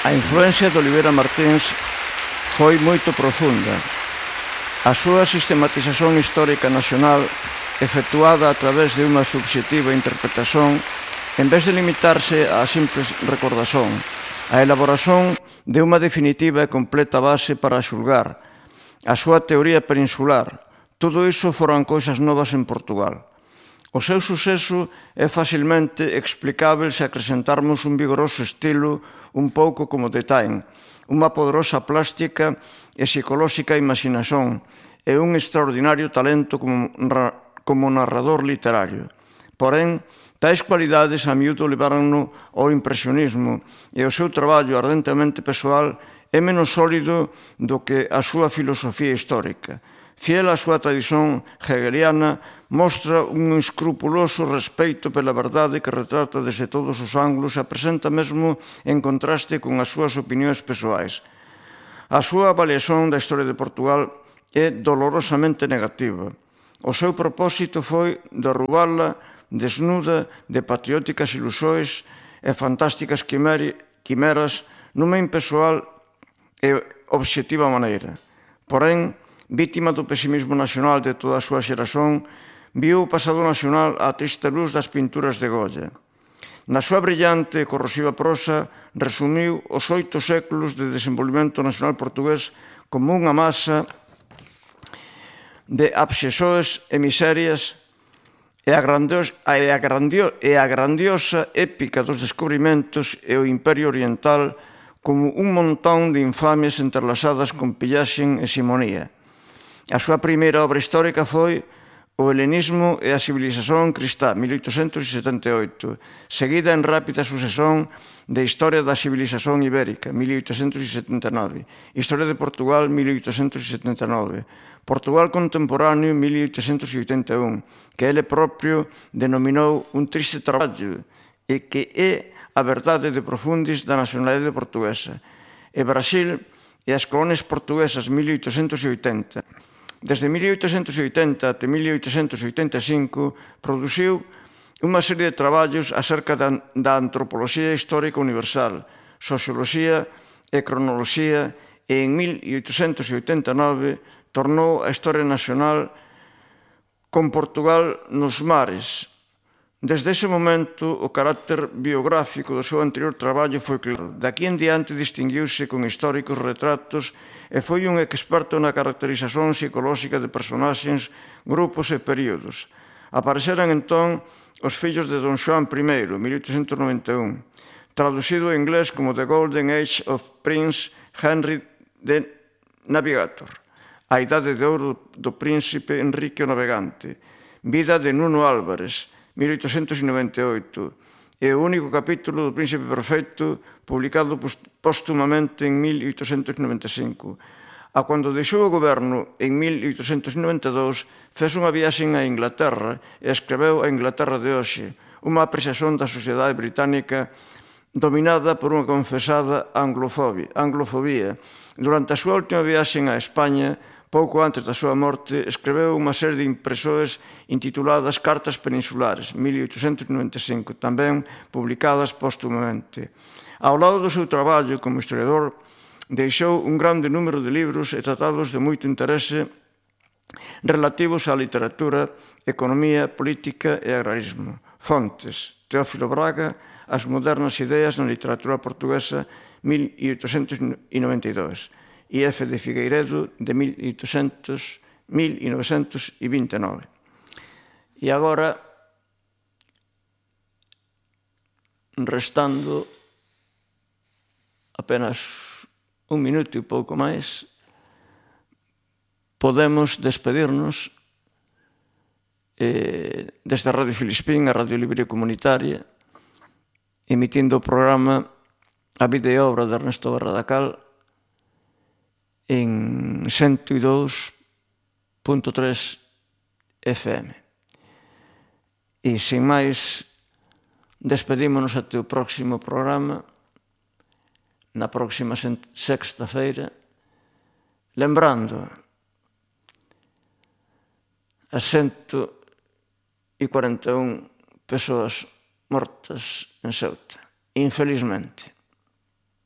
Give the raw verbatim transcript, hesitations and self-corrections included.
A influencia de Oliveira Martins foi moito profunda. A súa sistematización histórica nacional, efectuada a través de unha subxectiva interpretación, en vez de limitarse á simples recordación, a elaboración de unha definitiva e completa base para xulgar, a súa teoría peninsular, todo iso foron cousas novas en Portugal. O seu suceso é facilmente explicável se acrescentarmos un vigoroso estilo un pouco como de Taine, unha poderosa plástica e psicolóxica imaginación e un extraordinario talento como, como narrador literario. Porén, tais cualidades a miúdo levaron-no ao impresionismo e o seu traballo ardentemente persoal é menos sólido do que a súa filosofía histórica. Fiel á súa tradición hegeliana, mostra un escrupuloso respeito pela verdade que retrata desde todos os ángulos e a presenta mesmo en contraste con as súas opinións persoais. A súa avaliación da historia de Portugal é dolorosamente negativa. O seu propósito foi derrubala desnuda de patrióticas ilusóis e fantásticas quimeras nunha impessoal e obxectiva maneira. Porén, vítima do pesimismo nacional de toda a súa xeración, viu o pasado nacional á triste luz das pinturas de Goya. Na súa brillante e corrosiva prosa, resumiu os oito séculos de desenvolvemento nacional portugués como unha masa de abxesores e miserias e a, grandios, e, a grandio, e a grandiosa épica dos descubrimentos e o Imperio Oriental como un montón de infamias entrelazadas con pillaxen e simonía. A súa primeira obra histórica foi O helenismo e a civilización cristá, mil oitocentos setenta e oito, seguida en rápida sucesión de Historia da civilización ibérica, mil oitocentos setenta e nove, Historia de Portugal, mil oitocentos setenta e nove, Portugal contemporáneo, mil oitocentos oitenta e un, que ele propio denominou un triste traballo e que é a verdade de profundis da nacionalidade portuguesa, e Brasil e as colonias portuguesas, mil oitocentos oitenta. Desde mil oitocentos oitenta até mil oitocentos oitenta e cinco produciu unha serie de traballos acerca da, da antropoloxía histórica universal, socioloxía e cronoloxía, e en mil oitocentos oitenta e nove tornou a Historia Nacional con Portugal nos mares. Desde ese momento, o carácter biográfico do seu anterior traballo foi claro. Daqui en diante distinguiuse con históricos retratos e foi un experto na caracterización psicolóxica de personaxes, grupos e períodos. Apareceran entón Os fillos de Don Xoán I, mil oitocentos noventa e un, traducido ao inglés como The Golden Age of Prince Henry the Navigator, a idade de ouro do príncipe Enrique o Navegante, Vida de Nuno Álvares, mil oitocentos noventa e oito, e o único capítulo do Príncipe Perfecto, publicado póstumamente en mil oitocentos noventa e cinco. A cando deixou o goberno en mil oitocentos noventa e dous, fez unha viaxe a Inglaterra e escreveu A Inglaterra de hoxe, unha apreciación da sociedade británica dominada por unha confesada anglofobia. Durante a súa última viaxe a España, pouco antes da súa morte, escreveu unha serie de impresores intituladas Cartas Peninsulares, mil oitocentos noventa e cinco, tamén publicadas póstumamente. Ao lado do seu traballo como historiador, deixou un grande número de libros e tratados de moito interese relativos á literatura, economía, política e agrarismo. Fontes: Teófilo Braga, As modernas ideas na literatura portuguesa, mil oitocentos noventa e dous. I F de Figueiredo, de mil novecentos vinte e nove. E agora, restando apenas un minuto e pouco máis, podemos despedirnos eh, desde a Radio Filispín, a Radio Libre Comunitaria, emitindo o programa A vida e obra de Ernesto Barradacal en cento e dous punto tres F M. E, sin máis, despedímonos até o próximo programa, na próxima sexta-feira, lembrando as cento e cuarenta e un persoas mortas en Ceuta, infelizmente.